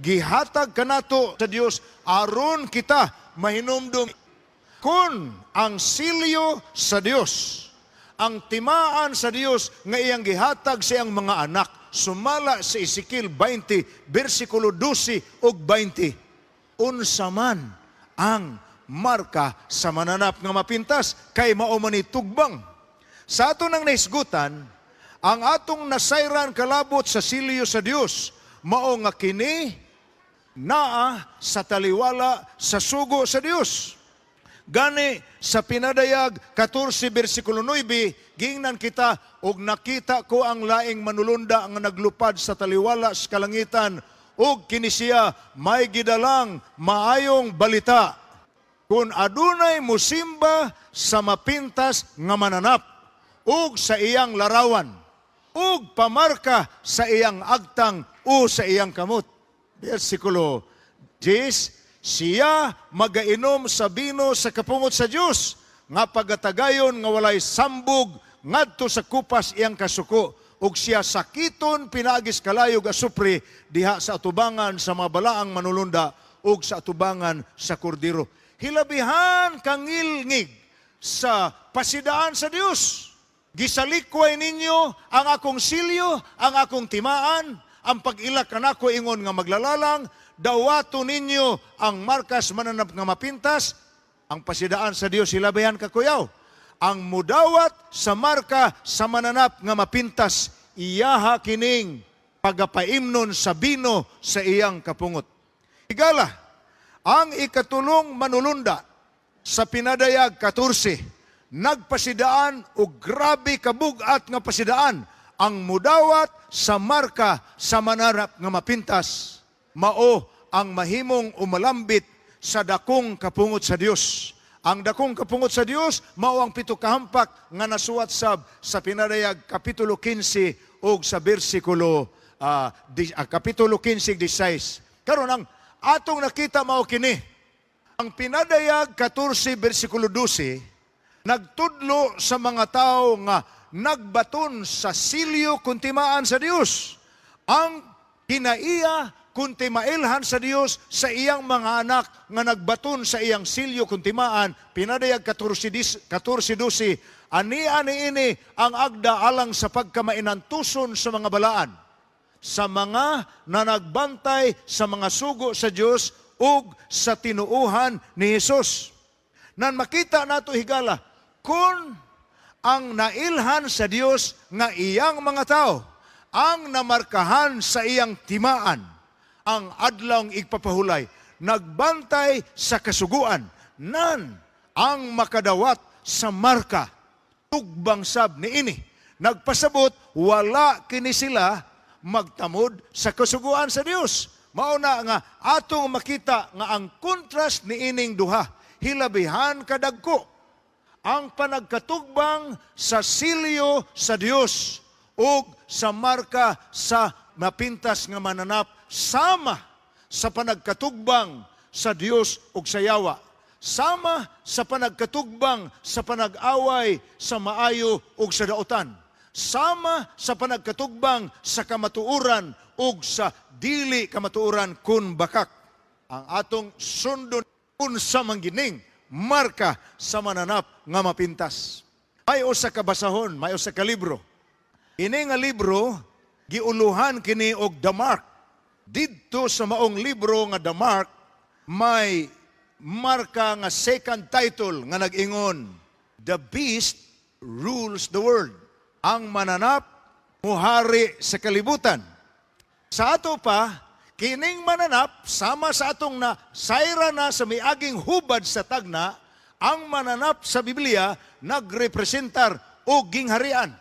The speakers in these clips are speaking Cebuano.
Gihatag kanato sa Dios aron kita mahinumdum kun ang silyo sa Dios, ang timaan sa Dios nga iyang gihatag sa iyang mga anak sumala sa Ezekiel 20 bersikulo 12 ug 20. Unsa man ang marka sa mananap nga mapintas kay mao man ni tugbang sa ato nang nahisgutan? Ang atong nasayran kalabot sa silyo sa Dios mao nga kini naa sa taliwala sa sugo sa Dios. Gani sa Pinadayag 14 bersikulo 9, gingnan kita, "Og nakita ko ang laing manulunda nga naglupad sa taliwala sa kalangitan, ug kini siya may gidalang maayong balita kung adunay musimba sa mapintas nga mananap ug sa iyang larawan ug pamarka sa iyang agtang o sa iyang kamot." Versikulo 10, "Siya magainom sa bino sa kapungot sa Dios nga pagatagayon nga walay sambog ngadto sa kupas iyang kasuko, ug siya sakiton pinaagis kalayog asupre diha sa atubangan sa mga balaang manulunda ug sa atubangan sa Kordero." Hilabihan kangilngig sa pasidaan sa Dios. "Gisalikway ninyo ang akong silyo, ang akong timaan, ang pag-ilak kanako ingon nga maglalalang, dawato ninyo ang markas mananap nga mapintas." Ang pasidaan sa Dios hilabihan kakuyaw. Ang mudawat sa marka sa mananap nga mapintas, iyaha kining pagapaimnon sa bino sa iyang kapungot. Higala, ang ikatulong manulunda sa Pinadayag 14, nagpasidaan og grabe kabugat nga pasidaan: ang mudawat sa marka sa mananap nga mapintas mao ang mahimong umalambit sa dakong kapungot sa Dios. Ang dakong kapungot sa Dios mao ang pito kahampak nga nasuwat sab sa Pinadayag kapitulo 15 ug sa bersikulo kapitulo 15 16. Karon, ang atong nakita mao kini. Ang Pinadayag 14 bersikulo 12 nagtudlo sa mga tao nga nagbaton sa silyo kun timaan sa Dios. Ang kinaiya kun timailhan sa Dios sa iyang mga anak nga nagbaton sa iyang silyo kun timaan, Pinadayag 14:12, "Ani-ani ini ang agda alang sa pagkamainantuson sa mga balaan, sa mga nanagbantay sa mga sugo sa Dios ug sa tinuuhan ni Hesus." Nan makita nato, higala, kung ang nailhan sa Dios nga iyang mga tao ang namarkahan sa iyang timaan, ang adlawng igpapahulay, nagbantay sa kasuguan, nan ang makadawat sa marka, tugbang sab ni ini. Nagpasabot, wala kini sila magtamod sa kasuguan sa Dios. Mao na nga atong makita nga ang contrast ni ining duha, hilabihan kadagko ang panagkatugbang sa silyo sa Dios ug sa marka sa mapintas nga mananap sama sa panagkatugbang sa Dios ug sa yawa, sama sa panagkatugbang sa panag-away sa maayo ug sa dautan, sama sa panagkatugbang sa kamatuoran ug sa dili kamatuoran kun bakak. Ang atong sundon, unsa man gining marka sa mananap nga mapintas? May usa ka basahon, may usa ka libro. Ini nga libro giuluhan kini og The Mark. Didto sa maong libro nga The Mark, may marka nga second title nga nag-ingon, "The Beast Rules the World." Ang mananap muhari sa kalibutan. Sa ato pa, kining mananap, sama sa atong na sayra na sa miaging hubad sa tagna, ang mananap sa Biblia nagrepresentar og gingharian.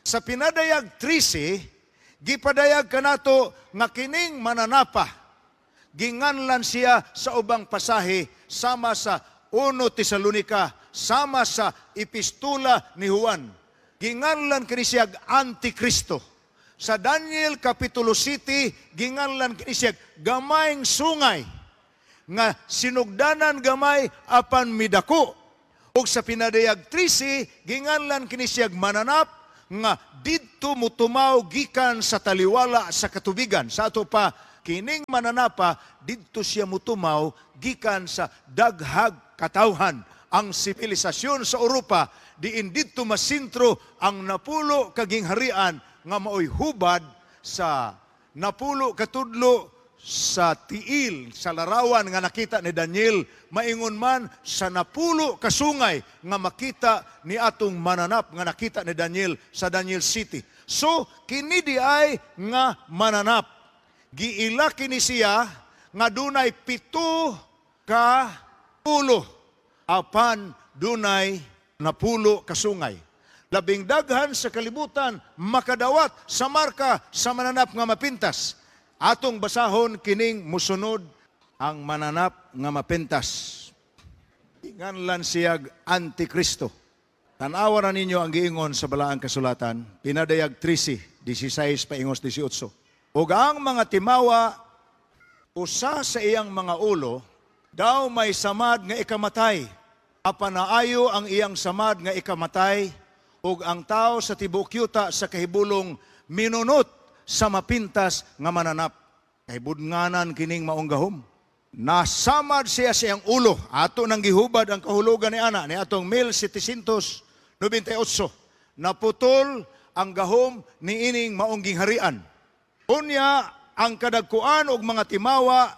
Sa Pinadayag 13, gipadayag kanato nga kining mananapa, ginganlan siya sa ubang pasahe sama sa 1 Tesalonika, sama sa Epistula ni Juan. Ginganlan kini siya Antikristo. Sa Daniel Kapitulo 7, ginganlan kini siya gamayng sungay nga sinugdanan gamay apan midako. Ug sa Pinadayag 13, ginganlan kini siya mananap nga didto mutumaw gikan sa taliwala sa katubigan. Sa ato pa, Kining mananapa didto siya mutumaw gikan sa daghag katawhan. Ang sibilisasyon sa Europa diin didto masintro ang 10 ka gingharian nga maoy hubad sa 10 katudlo sa tiil sa larawan nga nakita ni Daniel, maingon man sa 10 kasungay nga makita ni atong mananap nga nakita ni Daniel sa Daniel 7. So kini di ay nga mananap, giila kini siya nga dunay 7 ka ulo apan dunay 10 kasungay. Labing daghan sa kalibutan makadawat sa marka sa mananap nga mapintas. Atong basahon kining musunod, ang mananap nga mapintas. Inganlan siyag Antikristo. Tanawa na ninyo ang giingon sa Balaang Kasulatan, Pinadayag 13, 16 paingos 18. Ug ang mga timawa, usa sa iyang mga ulo, daw may samad nga ikamatay. Apan naayo ang iyang samad nga ikamatay, ug ang tao sa tibuok yuta sa kahibulong minunot sa mapintas nga mananap. Kahibudnganan kining maong gahom. Nasamad siya sa iyang ulo. Ato nang gihubad ang kahulugan ni ana ni atong 1798. Naputol ang gahom ni ining maong gingharian. Unya, ang kadagkuan og mga timawa,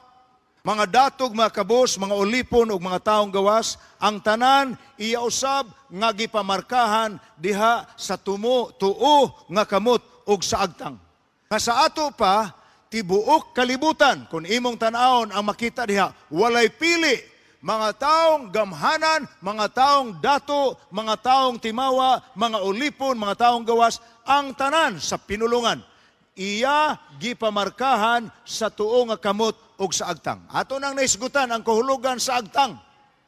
mga datog, mga kabos, mga ulipon ug mga taong gawas, ang tanan iya usab nga gipamarkahan diha sa tumo tuo nga kamot ug sa agtang. Nga sa ato pa tibuok kalibutan, kung imong tan-awon ang makita diha, walay pili, mga taong gamhanan, mga taong dato, mga taong timawa, mga ulipon, mga taong gawas, ang tanan sa pinulungan iya gipamarkahan sa tuo nga kamot ug sa agtang. Ato nang naisgutan ang kahulugan sa agtang.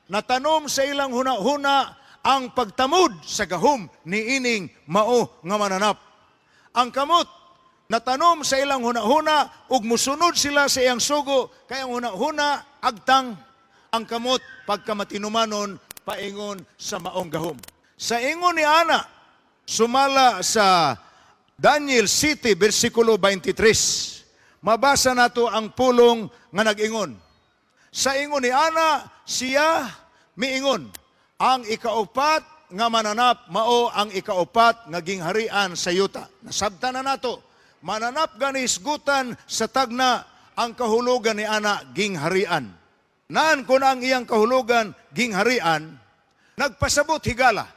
Natanom sa ilang huna-huna ang pagtamod sa gahom ni ining mao nga mananap. Ang kamot natanom sa ilang huna-huna ug musunod sila sa iyang sugo, kay ang huna-huna agtang, ang kamot pagkamatinumanon paingon sa maong gahom. Sa ingon ni ana, sumala sa Daniel 7, versikulo 23. Mabasa nato ang pulong nga nag-ingon. Sa ingon ni ana, siya miingon, ang ikaupat nga mananap mao ang ikaupat nga gingharian sa yuta. Nasabtan na nato. Mananap gani isgutan sa tagna ang kahulugan ni ana gingharian. Naan kun ang iyang kahulugan gingharian, nagpasabot higala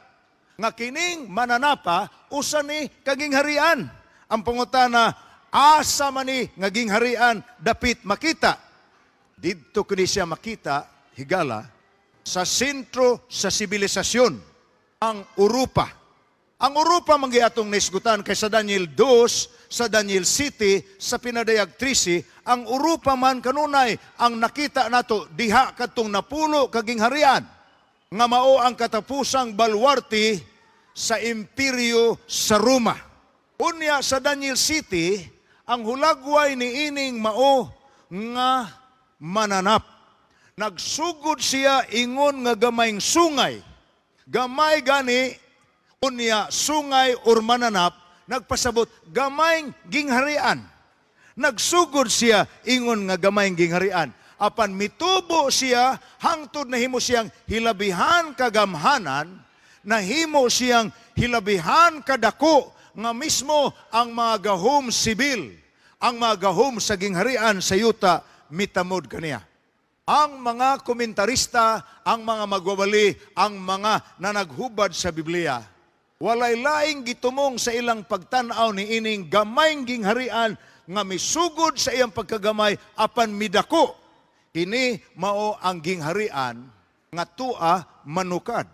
nga kining mananapa usa ni kagingharian. Ang pangutana, asa man ni nga gingharian dapit makita? Didto kini siya makita higala sa sentro sa sibilisasyon, ang Europa. Ang Europa man atong naisgutan kay sa Daniel 2, sa Daniel 7, sa Pinadayag 13, ang Europa man kanunay ang nakita nato diha kadtong 10 kagingharian nga mao ang katapusang balwarte sa imperyo sa Roma. Unya sa Daniel 7, ang hulagway ni ining mao nga mananap. Nagsugod siya ingon nga gamayng sungay. Gamay gani, unya sungay or mananap, nagpasabot gamayng gingharian. Nagsugod siya ingon nga gamayng gingharian. Apan mitubo siya hangtod nahimo siyang hilabihan kagamhanan, nahimo siyang hilabihan kadako nga mismo ang mga gahom sibil, ang mga gahom sa gingharian sa yuta mitamod kaniya. Ang mga komentarista, ang mga magwawali, ang mga nanaghubad sa Biblia, walay laing gitumong sa ilang pagtan-aw ni ining gamayng gingharian nga misugod sa iyang pagkagamay apan midako. Kini mao ang gingharian nga tua manukad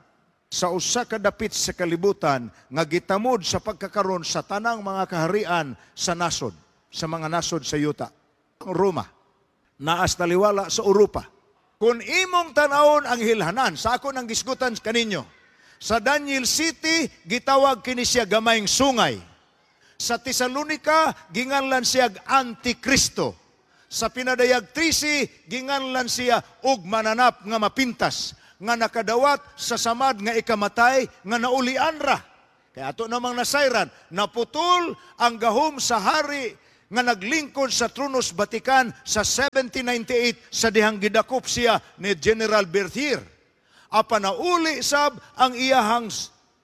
sa usa ka dapit sa kalibutan nga gitamod sa pagkakaron sa tanang mga kaharian sa nasod, sa mga nasod sa yuta. Ang Roma, naas taliwala sa Europa. Kung imong tanawon ang hilhanan, sa ako nang gisgutan kaninyo, sa Daniel 7, gitawag kini siya gamayng sungay. Sa Tesalonica, ginganlan siya Antikristo. Sa Pinadayag 13, ginganlan siya og mananap nga mapintas, nga nakadawat sa samad nga ikamatay, nga naulian ra. Kaya ato namang nasayran, naputol ang gahom sa hari nga naglingkod sa Tronos Vatican sa 1798 sa dihang gidakop siya ni General Berthier. Apan nauli sab ang iyahang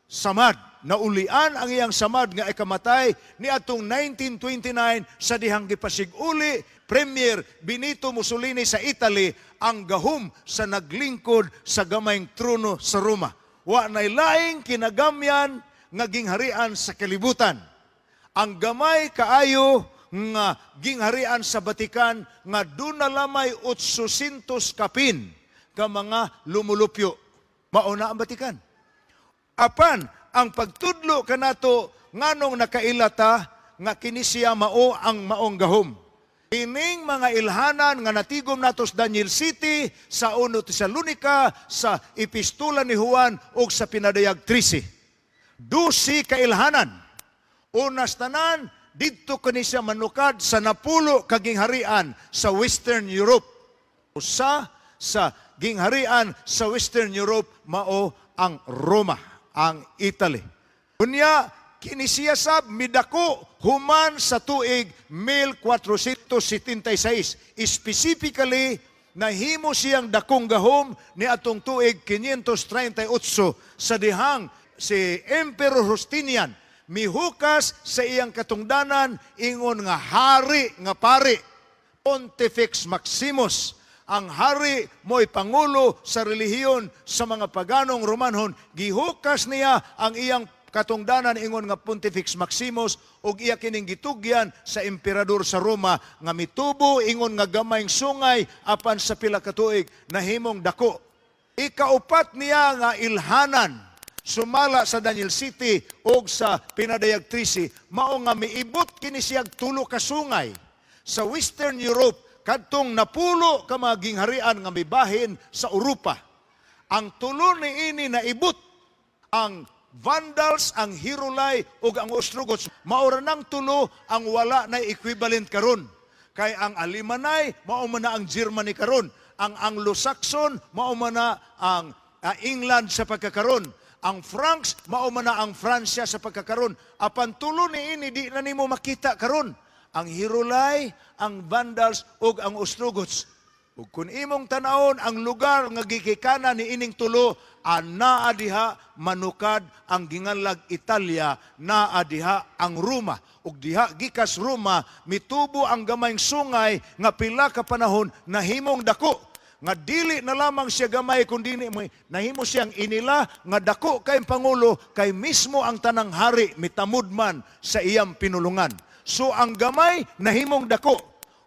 samad. Naulian ang iyang samad nga ikamatay ni atong 1929 sa dihang gipasig-uli Premier Benito Mussolini sa Italy ang gahom sa naglingkod sa gamayng trono sa Roma. Wa nay laing kinagamyan nga gingharian sa kalibutan. Ang gamay kaayo nga gingharian sa Vatican nga duna lamay 800 kapin ka mga lumulupyo. Mao na ang Vatican. Apan ang pagtudlo kanato, nganong nakaila ta nga kini siya mao ang maong gahom. Ining mga ilhanan nga natigom nato sa Daniel Siyete, sa 1 Tesalonica, sa Epistula ni Juan ug sa Pinadayag 13. 12 ka ilhanan. Unas tanan, didto kani siya manukad sa 10 ka gingharian sa Western Europe. Usa sa gingharian sa Western Europe mao ang Roma, ang Italy. Unya, kini siya sab midako human sa tuig 1476. Specifically, nahimo siyang dakong gahom ni atong tuig 538 sa dihang si Emperor Justinian mihukas sa iyang katungdanan ingon nga hari nga pari, Pontifex Maximus. Ang hari mo'y pangulo sa relihiyon sa mga paganong Romanhon. Gihukas niya ang iyang katungdanan ingon nga Pontifex Maximus ug iya kining gitugyan sa emperador sa Roma nga mitubo ingon nga gamayng sungay, apan sa pila ka tuig nahimong dako. Ikaupat niya nga ilhanan, sumala sa Daniel Siyete og sa Pinadayag 13, mao nga miibot kini siyag tulo ka sungay sa Western Europe, kadtong 10 ka mga gingharian nga mibahin sa Europa. Ang tulo niini naibot, ang Vandals, ang Heruli ug ang Ostrogoths. Mao ra nang tulo ang wala na equivalent karon. Kay ang Alemanni mao man na ang Germany karon. Ang Anglo-Saxon mao man na ang England sa pagkakaron. Ang Franks mao man na ang Francia sa pagkakaron. Apan tulo niini di na nimo makita karon. Ang Heruli, ang Vandals ug ang Ostrogoths. Ug kung imong tanawon ang lugar nga gikikanan ni ining tulo, anaa diha manukad ang ginganlag Italia, naa diha ang Roma. Ug diha gikas Roma mitubo ang gamayng sungay nga pila ka panahon nahimong dako nga dili na lamang siya gamay kundi nahimo siyang inila nga dako kay pangulo, kay mismo ang tanang hari mitamod man sa iyang pinulungan. So ang gamay nahimong dako.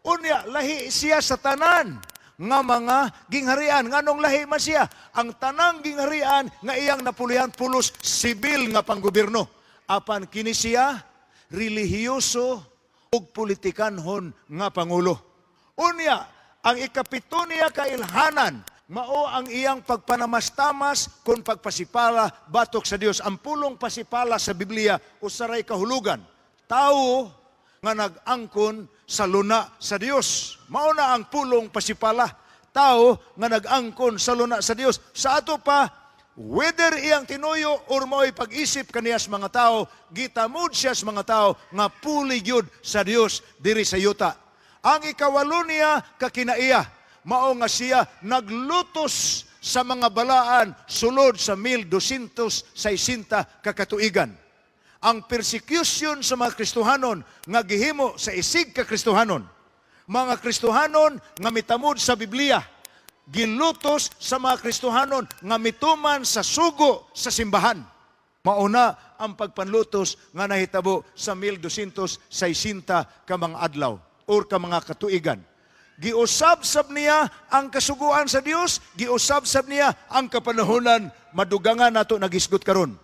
Unya, lahi siya sa tanan nga mga gingharian. Nganong lahi man siya? Ang tanang gingharian nga iyang napulihan pulos sibil nga panggobyerno. Apan kini siya relihiyoso ug politikanhon nga pangulo. Unya, ang ikapito niya kailhanan mao ang iyang pagpanamastamas kon pagpasipala batok sa Dios. Ang pulong pasipala sa Biblia usaray kahulugan. Tao nga nag-angkon sa luna sa Dios. Mao na ang pulong pasipala. Tao nga nag-angkon sa luna sa Dios. Sa ato pa, whether iyang tinuyo or mao'y pag-isip kaniya sa mga tao, gitamod siya sa mga tao nga puli gyud sa Dios diri sa yuta. Ang ikawalo niya kakinaiya, mao nga siya naglutos sa mga balaan sulod sa 1260 ka katuigan. Ang persecution sa mga Kristohanon nga gihimo sa isig ka Kristohanon. Mga Kristohanon nga mitamod sa Biblia, gilutos sa mga Kristohanon nga mituman sa sugo sa simbahan. Mauna ang pagpanlutos nga nahitabo sa 1260 ka mga adlaw or ka mga katuigan. Giusab-sab niya ang kasuguan sa Dios, giusab-sab niya ang kapanahonan, madugangan nato nagisgot karon.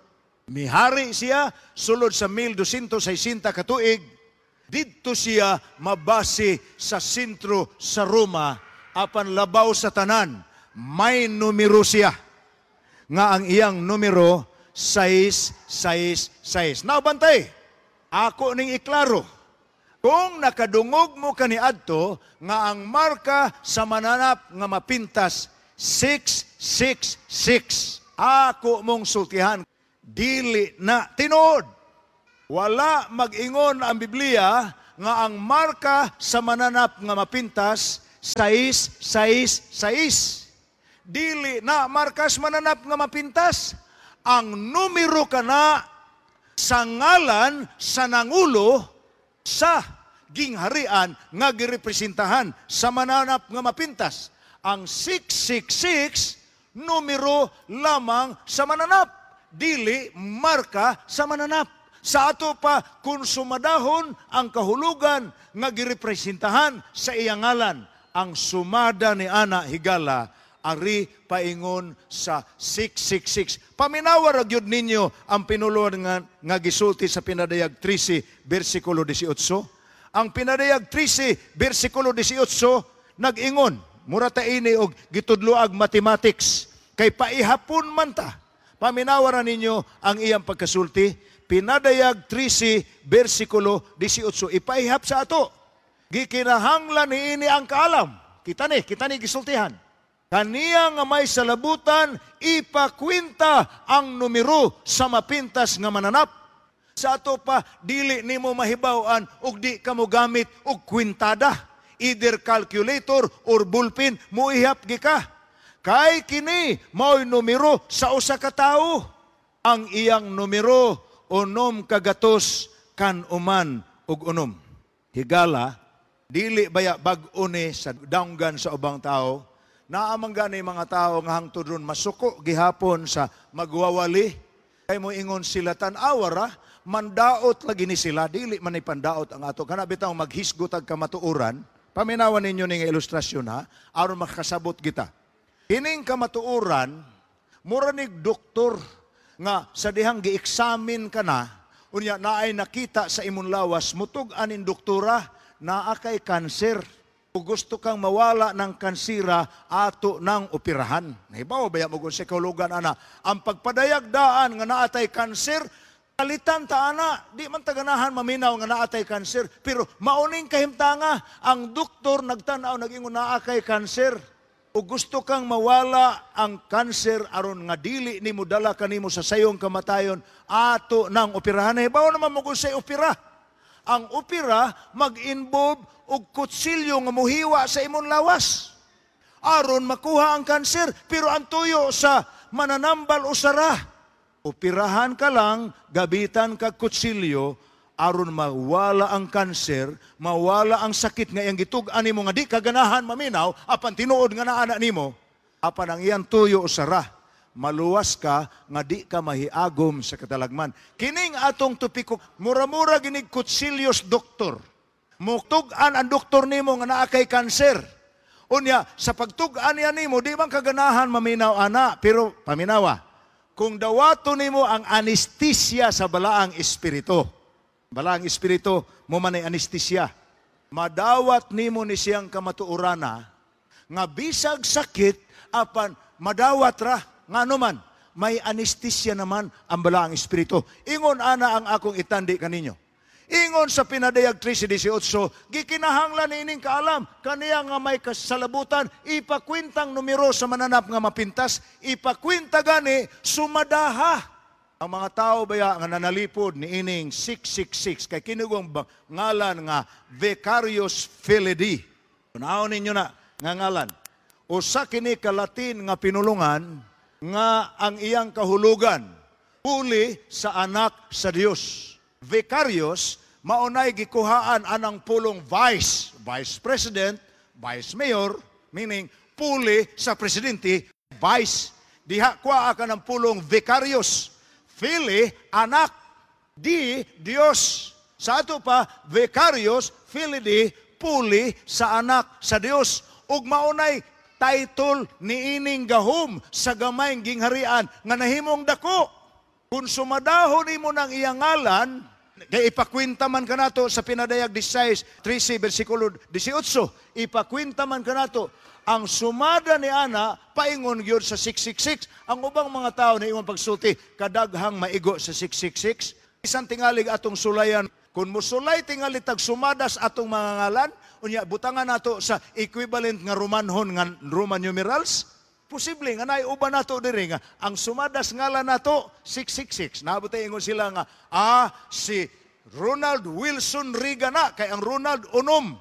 Mihari siya sulod sa 1260 katuig. Didto siya mabase sa sentro sa Roma, apan labaw sa tanan, may numero siya nga ang iyang numero 666. Now bantay, ako ning iklaro. Kung nakadungog mo kaniadto nga ang marka sa mananap nga mapintas 666, ako mong sultihan, dili na tinuod. Wala mag-ingon ang Biblia nga ang marka sa mananap nga mapintas 6 6 6. Dili na markas mananap nga mapintas. Ang numero kana sa ngalan sa nangulo sa gingharian nga girepresentahan sa mananap nga mapintas. Ang 666, numero lamang sa mananap, dili marka sa mananap. Sa ato pa, kung sumadahon ang kahulugan nga girepresentahan sa iyang ngalan, ang sumada ni ana, higala, ari paingon sa 666. Paminawa ra gyud ninyo ang pinulungan nga gisulti sa Pinadayag 13 bersikulo 18. Ang Pinadayag 13 bersikulo 18 nag-ingon, mura ta ini og gitudloag mathematics kay paihapon man ta. Paminawa ra ninyo ang iyang pagkasulti. Pinadayag 13 bersikulo 18, ipaihap sa ato. Gikinahanglan niini ang kaalam. Kita ni gisultihan. Kaniya nga may salabutan, ipakwenta ang numero sa mapintas nga mananap. Sa ato pa, dili nimo mahibaw-an og di ka mo gamit og kwintada. Either calculator or ballpen, muihap gi ka. Kay kini mao'y numero sa usa ka tawo. Ang iyang numero, 996. Higala, dili baya bag-o ni sa danggan sa ubang tao? Naa man gani mga tao nga hangtod ron masuko gihapon sa magwawali. Kay mo ingon sila, tan-awa ra, mandaot lagi ni sila, dili man ni pandaot ang ato. Kana bitaw maghisgot ag kamatuoran. Paminawan ninyo ning ilustrasyon ha, aron makasabot kita. Kining kamatuoran, mura nig doktor nga sa dihang gi-examine ka na, unya naay nakita sa imong lawas, mutug anin doktora, naa kay kanser. Kung gusto kang mawala ng kansira, ato ng operahan. Nahibaw ba mo kung sa kahulugan ana? Ang pagpadayag daan nga naatay kanser, kalitan ta ana, di man taganahan maminaw nga naatay kanser, pero mauning kahimtanga, ang doktor nagtanaw, nag-ingon naa kay kanser. O gusto kang mawala ang kanser aron nga dili nimo dala kanimo sa sayong kamatayon, ato ng operahan. Nahibaw naman mo kung sa opera. Ang opera mag-involve og kutsilyo nga muhiwa sa imong lawas aron makuha ang kanser, pero ang tuyo sa mananambal usara. Operahan ka lang, gabitan kag kutsilyo aron mawala ang kanser, mawala ang sakit nga iyang gitug-an nimo nga di ka ganahan maminaw, apan tinuod nga naa nimo. Apan ang iyang tuyo usara, maluwas ka nga di ka mahiagom sa katalagman. Kining atong topiko, mura-mura ginig kutsilyos doktor. Mutug-an ang doktor nimo nga naa kay kanser. Unya, sa pagtug-an niya nimo, di man kaganahan maminaw ana, pero paminawa. Kung dawato nimo ang anestesia sa Balaang Espiritu. Balaang Espiritu mo man ay anestesia. Madawat nimo ni siyang kamatuorana nga bisag sakit apan madawat ra, ngano man may anestesia naman ang Balaang Espiritu. Ingon ana ang akong itandi kaninyo. Ingon sa Pinadayag 13:18, gikinahanglan ining kaalam, kaniya nga may kasalabutan, ipakwentang numero sa mananap nga mapintas, ipakwenta gani sumadaha. Ang mga tao baya nga nanalipod ni ining 666 kay kinugong ngalan nga Vicarius Filii. Unahon ninyo na nga ngalan. Usa kini ka Latin nga pinulungan nga ang iyang kahulugan, puli sa anak sa Dios. Vicarius, maunay gikuhaan anang pulong vice, vice president, vice mayor, meaning puli sa presidente, vice. Diha kuha ka ng pulong vicarius. Filii, anak, di, Dios. Sa ato pa, Vicarius Filii, puli sa anak sa Dios. Ug maunay title niining gahom sa gamayng gingharian nga nahimong dako. Kung sumadahon nimo ng iyang ngalan, kay ipakwenta man kanato sa Pinadayag 16, 13, versikulo 18, ipakwenta man kanato, ang sumada ni ana paingon gyud sa 666. Ang ubang mga tao na imong pagsulti, kadaghang maigo sa 666. Isang tingalig atong sulayan, kung musulay tingali tag sumadas atong mga ngalan, unya butangan nato sa equivalent nga Romanhon nga Roman numerals, posible nga naay uban nato diri nga ang sumadas ngalan nato 666. Naabot ingon sila nga si Ronald Wilson Reagan na kay ang Ronald unom,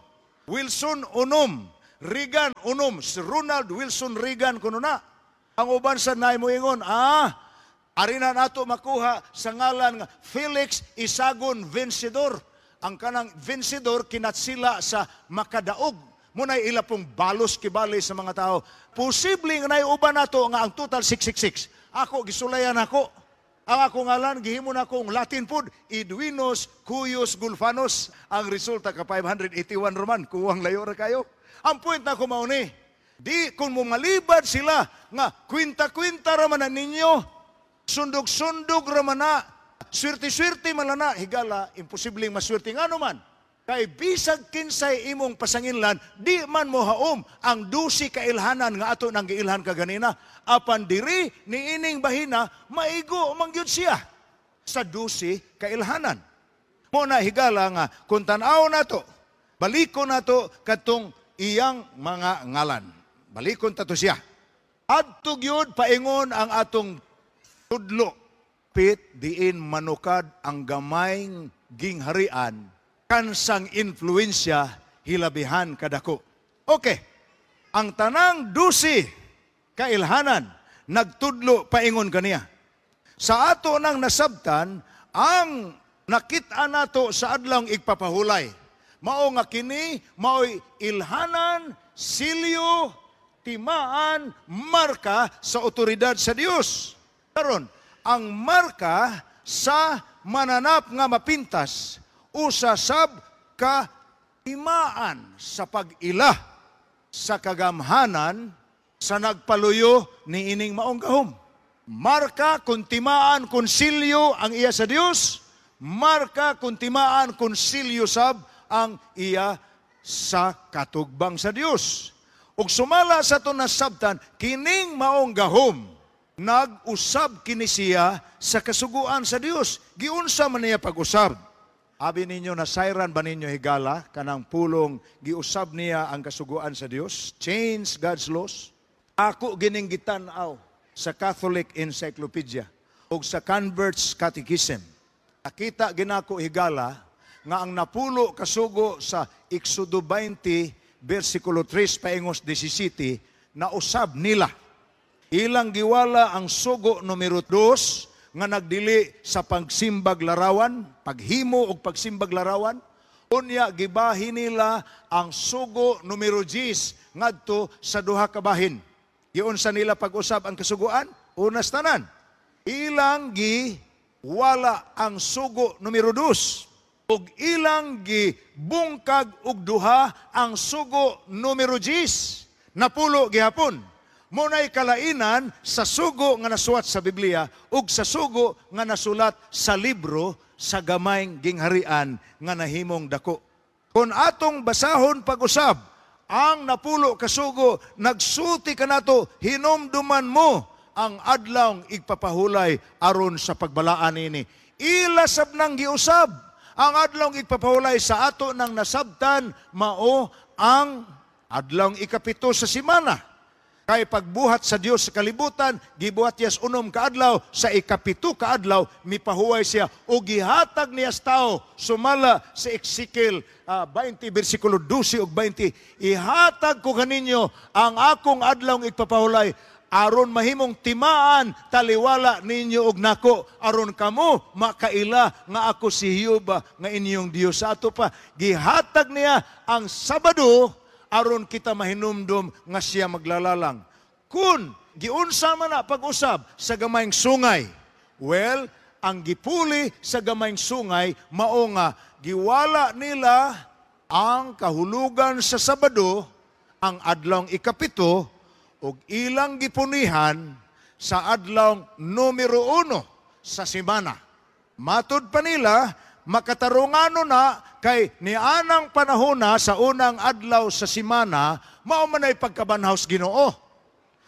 Wilson unom, Reagan unom, si Ronald Wilson Reagan kuno na. Ang uban sa naay moingon, ari na nato makuha sa ngalan nga Felix Isagon Vencedor. Ang kanang vencedor kinatsila sa makadaog. Muna'y ila pong balos kibali sa mga tao. Posible nga naay uban nato nga ang total 666. Ako, gisulayan ako. Ang ako ngalan, gihimo na akong Latin pod, Edwinus Cuyus Gulfanos. Ang resulta ka 581 roman, kuwang layo ra kayo. Ang point na ko mao ni, di kung mumalibad sila nga kwinta-kwinta ra man na ninyo, sundog-sundog ra man na, swerte-swerte man na, higala, imposibleng maswerte ngano man. Kay bisag kinsay imong pasanginlan, di man mo haom ang 12 kailhanan nga ato nang giilhan kaganina. Apan diri niining bahina, maigo man gyud siya sa 12 kailhanan. Mo na, higala, nga kung tan-aw nato, baliko nato katong iyang mga ngalan. Balikon tato siya. Adto gyud paingon ang atong tudlo. Pit diin manukad ang gamayng gingharian kansang influensya hilabihan kadako. Okay. Ang tanang 12 kailhanan nagtudlo paingon kaniya. Sa ato nang nasabtan, ang nakita nato sa adlawng igpapahulay. Mao nga kini maoy ilhanan, silyo, timaan, marka sa otoridad sa Dios. Karon, ang marka sa mananap nga mapintas usa sab ka timaan sa pag-ila sa kagamhanan sa nagpaluyo ni ining maong gahom. Marka kung timaan kung silyo ang iya sa Dios, marka kung timaan kung silyo sab ang iya sa katugbang sa Dios. Ug sumala sa ato nasabtan, kining maong gahom, nag-usab kini siya sa kasuguan sa Dios. Giunsa man niya pag-usab? Abi ninyo, nasayran ba ninyo, higala, kanang pulong giusab niya ang kasuguan sa Dios? Change God's laws? Ako gining gitan-aw sa Catholic Encyclopedia ug sa Converts Catechism. Nakita ginako, higala, nga ang 10 kasugo sa Exodo 20 versikulo 3 paingos 17 nausab nila. Ilang giwala ang sugo numero 2 nga nagdili sa pagsimbag larawan, paghimo og pagsimbag larawan. Unya gibahin nila ang sugo numero 10 ngadto sa duha ka bahin. Giunsa nila pag-usab ang kasuguan? Unas tanan. Ilang giwala ang sugo numero 2 ug ilang gibungkag og duha ang sugo numero 10. 10 gihapon. Muna'y kalainan sa sugo nga nasuwat sa Biblia ug sa sugo nga nasulat sa libro sa gamayng gingharian nga nahimong dako. Kung atong basahon pag-usab ang 10 kasugo, nagsulti kanato, "Hinumduman mo ang adlawng igpapahulay aron sa pagbalaan ini." Ila sab nang giusab ang adlawng igpapahulay. Sa ato nang nasabtan, mao ang adlawng 7 sa semana. Kay pagbuhat sa Dios sa kalibutan, gibuhat niya sa 6 ka adlaw, sa 7 ka adlaw mipahuway siya o gihatag niya sa tao sumala sa Ezekiel 20 bersikulo 12 ug 20, "Ihatag ko kaninyo ang akong adlawng igpapahulay aron mahimong timaan taliwala ninyo og nako, aron kamo makaila nga ako si Jehova nga inyong Dios." Sa ato pa, gihatag niya ang Sabado aron kita mahinumdum nga siya maglalalang. Kung giunsa man na pag-usab sa gamayng sungay, well, ang gipuli sa gamayng sungay mao nga giwala nila ang kahulugan sa Sabado, ang adlawng 7, ug ilang gipunihan sa adlawng numero 1 sa semana. Matud pa nila, makatarungano na kay nianang panahon na sa unang adlaw sa semana, mao man ay pagkabanhaw sa Ginoo.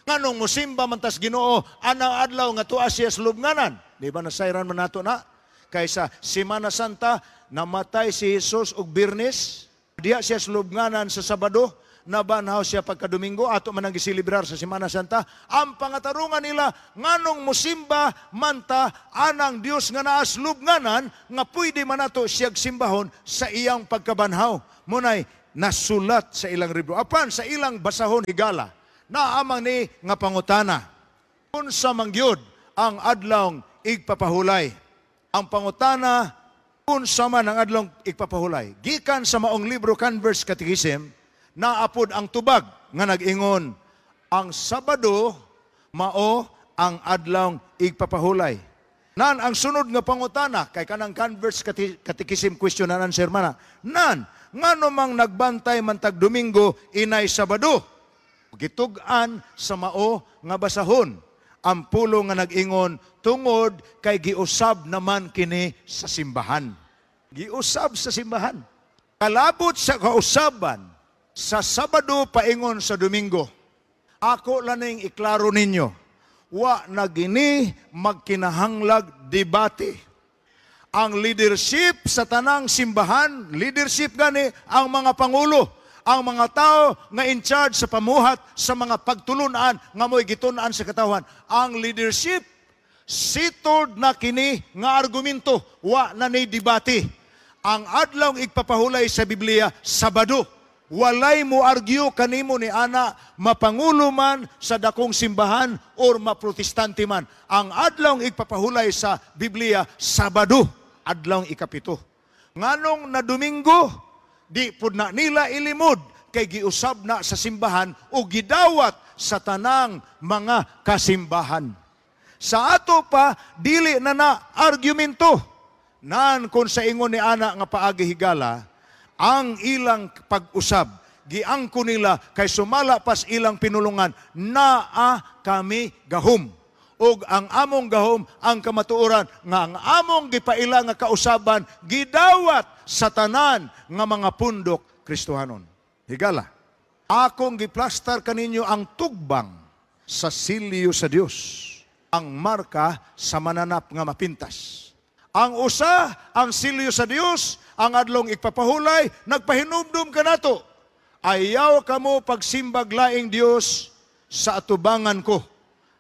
Nganong musimba man tas Ginoo anang adlaw nga tuwa siya sa lubnganan? Di ba nasayran man nato na? Kay sa Semana Santa, namatay si Jesus og Biyernes, diya siya sa lubnganan sa Sabado, Nabanhaw siya pagka-Domingo, ato man ang gisilibrar sa Semana Santa. Ang pangatarungan nila, nganong musimba manta anang Dios nga naas lubnganan, nga pwede man nato siyag simbahon sa iyang pagkabanhaw? Munay nasulat sa ilang libro. Apan sa ilang basahon, higala, naamang ni nga pangutana. Unsa man gyud ang adlawng igpapahulay? Ang pangutana, unsa man ang adlawng igpapahulay? Gikan sa maong libro, Converse Catechism, naapod ang tubag nga nag-ingon, ang Sabado mao ang adlawng igpapahulay. Nan ang sunod nga pangutana, kay kanang Converse Catechism question and answer man na. Nan, ngano mang nagbantay man tag Domingo inay Sabado? Gitug-an sa mao nga basahon ang pulong nga nag-ingon, tungod kay giusab naman kini sa simbahan. Giusab sa simbahan. Kalabot sa kausaban sa Sabado paingon sa Domingo. Ako laning iklaro ninyo, wa na gini magkinahanglag debate. Ang leadership sa tanang simbahan, leadership gani ang mga pangulo, ang mga tao nga in charge sa pamuhat sa mga pagtulunan nga mo'y gitun-an sa katawhan. Ang leadership, settled na kini nga argumento, wa na ni debate. Ang adlawng igpapahulay sa Biblia, Sabado. Walay mo argue kanimo ni ana, mapangulo man sa dakong simbahan or maprotestante man. Ang adlawng igpapahulay sa Biblia, Sabado, adlawng 7. Nganong na Domingo, di pud na nila ilimod kay giusab na sa simbahan o gidawat sa tanang mga kasimbahan. Sa ato pa, dili na na argumento. Nan kung sa ingon ni ana nga paagi, higala, ang ilang pag-usab, giangko nila kay sumala pas ilang pinulungan, naa kami gahom. Og ang among gahom, ang kamatuoran nga ang among gipaila nga kausaban gidawat sa tanan nga mga pundok Kristohanon. Higala, akong giplastar kaninyo ang tugbang sa silyo sa Dios, ang marka sa mananap nga mapintas. Ang usa, ang silyo sa Dios, ang adlong igpapahulay, nagpahinumdum kanato. Ayaw kamo pagsimbag laing Dios sa atubangan ko.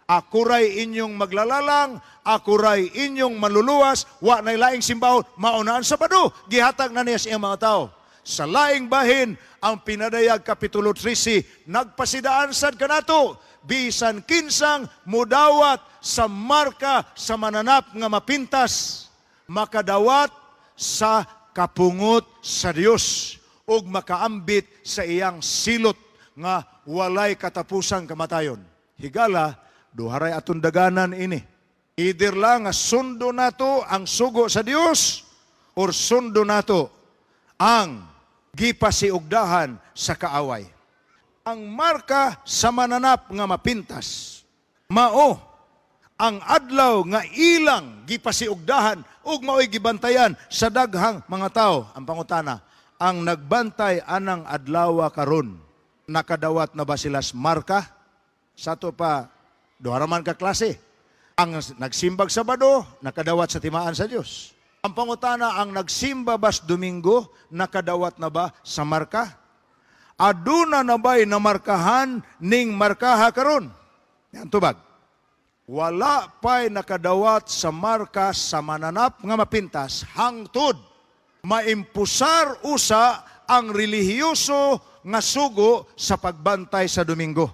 Ako ray inyong maglalalang, ako ray inyong maluluwas, wa nay laing simbahon, maunaan sa Sabado, gihatag na niya sa iyang mga tao. Sa laing bahin, ang Pinadayag Kapitulo 13, nagpasidaan sad kanato, bisan kinsang mudawat sa marka sa mananap nga mapintas, makadawat sa kapungot sa Dios ug makaambit sa iyang silot nga walay katapusang kamatayon. Higala, duharay atong daganan ini. Either lang nga sundo nato ang sugo sa Dios or sundo nato ang gipasiugdahan sa kaaway. Ang marka sa mananap nga mapintas, mao ang adlaw nga ilang gipasiugdahan ug mao'y gibantayan sa daghang mga tao. Ang pangutana, ang nagbantay anang adlaw karon, nakadawat na ba sila sa marka? Sa ato pa, duha ra man ka klase. Ang nagsimbag Sabado, nakadawat sa timaan sa Dios. Ang pangutana, ang nagsimba bas Domingo, nakadawat na ba sa marka? Aduna na ba'y namarkahan ning markaha karon? Yan tubag. Wala pa'y nakadawat sa marka sa mananap nga mapintas hangtod maimpusar usa ang relihiyoso nga sugo sa pagbantay sa Domingo.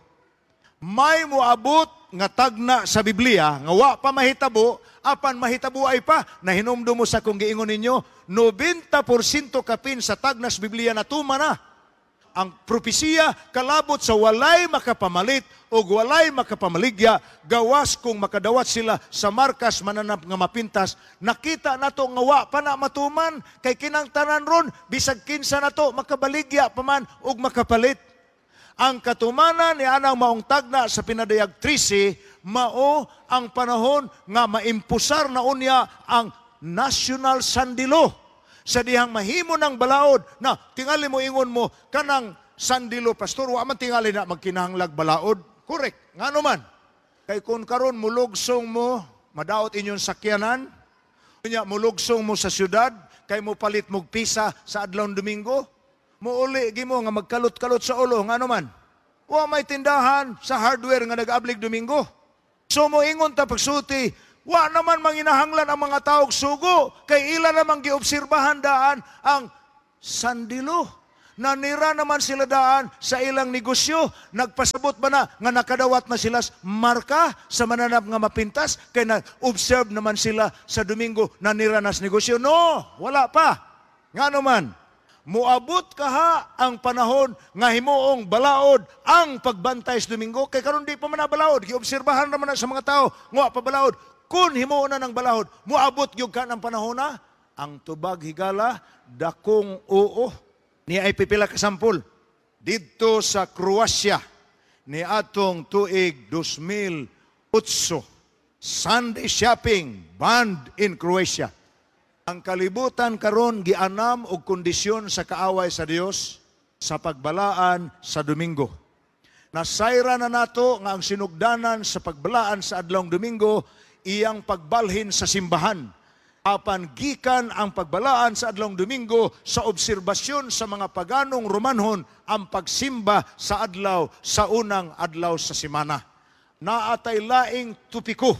May moabot nga tagna sa Biblia nga wa pa mahitabo, apan mahitabo ay pa. Nahinumdum mo sa kung giingon ninyo, 90% kapin sa tagnas Biblia natuma na. Ang propesiya kalabot sa walay makapamalit o walay makapamaligya gawas kung makadawat sila sa markas mananap nga mapintas. Nakita nato nga wa pa na matuman kay kinang tanan ron, bisag kinsa nato makabaligya pa man ug makapalit. Ang katumanan ni anang maong tagna sa Pinadayag 13 mao ang panahon nga maimpusar na unya ang National Sunday Law. Sa dihang mahimo ng balaod na tingali mo ingon mo kanang Sunday Law, pastor, wa man tingali na magkinahanglag balaod. Correct. Ngano man? Kay kung karon mulugsong mo, madaot inyong sakyanan, unya mulugsong mo sa syudad, kay mo palit mog pisa sa adlaw Domingo, Muuli gimo nga magkalot-kalot sa ulo, ngano man? Wa may tindahan sa hardware nga nag-ablig Domingo. So moingon ta pagsulti, wa naman manginahanglan ang mga taog sugo kay ila namang giobserbahan daan ang Sunday law. Nanira naman sila daan sa ilang negosyo. Nagpasabot ba na nga nakadawat na sila marka sa mananap nga mapintas kay na-observe naman sila sa Domingo, nanira nas negosyo? No, wala pa. Ngano man? Muabot kaha ang panahon nga himuong balaod ang pagbantay sa Domingo kay karon di pa man na balaod. Giobserbahan naman na sa mga tao nga pa balaod. Kun himuon na ng balaod, muabot gyud ka ng panahon na. Ang tubag, higala, dakong oo. Ni ay pipila ka sampol didto sa Croatia ni atong tuig 2008, Sunday shopping banned in Croatia. Ang kalibutan karon gianam og kondisyon sa kaaway sa Dios sa pagbalaan sa Domingo. Nasayra na nato nga ang sinugdanan sa pagbalaan sa adlawng Domingo iyang pagbalhin sa simbahan. Apan gikan ang pagbalaan sa adlawng Domingo sa obserbasyon sa mga paganong Romanhon ang pagsimba sa adlaw sa unang adlaw sa semana. Naatay laing topiko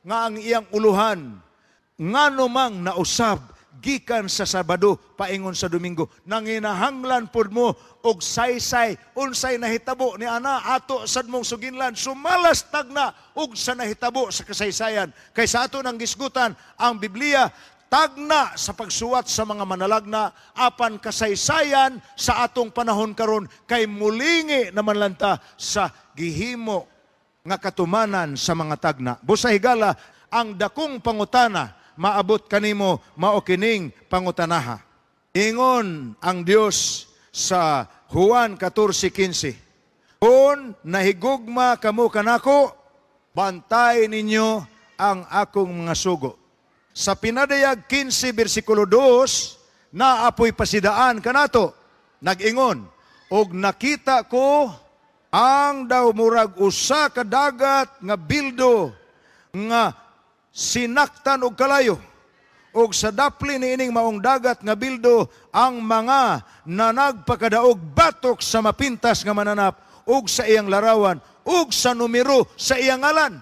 nga ang iyang uluhan, ngano mang nausab gikan sa Sabado paingon sa Domingo? Nanginahanglan pud mo og saysay unsay nahitabo ni ana, ato sad mong suginlan sumalas tagna og sa nahitabo sa kasaysayan kay sa ato nang gisgutan, ang Biblia tagna sa pagsuwat sa mga manalagna, apan kasaysayan sa atong panahon karon kay mulingi naman lanta sa gihimo nga katumanan sa mga tagna. Busa, higala, ang dakong pangutana maabot kanimo mao kining pangutanaha. Ingon ang Dios sa Juan 14:15, "Kung nahigugma kamo kanako, bantay ninyo ang akong mga sugo." Sa Pinadayag 15 bersikulo 2, naapoy pasidaan kanato. Nag-ingon, "Og nakita ko ang daw murag usa ka dagat nga bildo nga sinaktan og kalayo. Og sa dapli niining maong dagat nga bildo ang mga nanagpakadaog batok sa mapintas nga mananap ug sa iyang larawan ug sa numero sa iyang ngalan,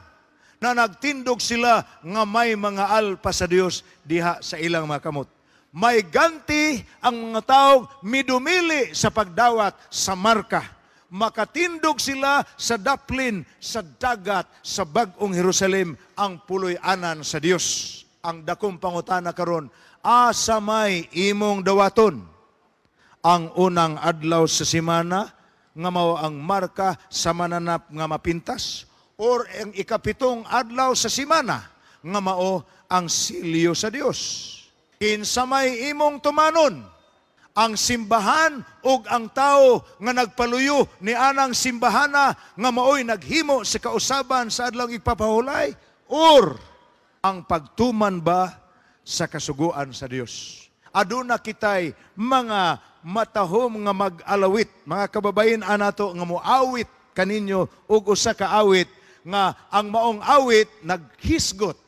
na nagtindog sila nga may mga alpa sa Dios diha sa ilang mga kamot." May ganti ang mga taong midumili sa pagdawat sa marka. Makatindog sila sa daplin sa dagat sa Bag-ong Jerusalem, ang puloy-anan sa Dios. Ang dakong pangutana karon, asa may imong dawaton? Ang unang adlaw sa semana nga mao ang marka sa mananap nga mapintas or ang ikapitong adlaw sa semana nga mao ang silyo sa Dios? Kinsa may imong tumanon? Ang simbahan ug ang tao nga nagpaluyo ni anang simbahana nga maoy naghimo sa kausaban sa adlaw igpapahulay or ang pagtuman ba sa kasuguan sa Dios? Aduna kitay mga matahom nga mag-alawit, mga kababayin anato nga moawit kaninyo og usa ka awit nga ang maong awit naghisgot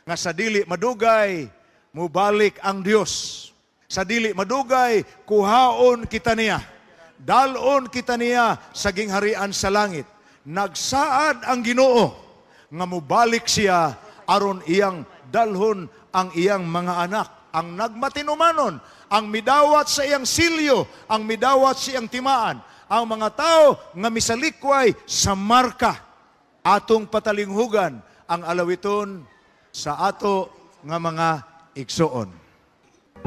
nga sa dili madugay mubalik ang Dios. Sa dili madugay kuhaon kita niya. Dalon kita niya sa gingharian sa langit. Nagsaad ang Ginoo nga mubalik siya aron iyang dalhon ang iyang mga anak, ang nagmatinumanon, ang midawat sa iyang silyo, ang midawat sa iyang timaan, ang mga tao nga misalikway sa marka. Atong patalinghugan ang alawiton sa ato nga mga igsuon.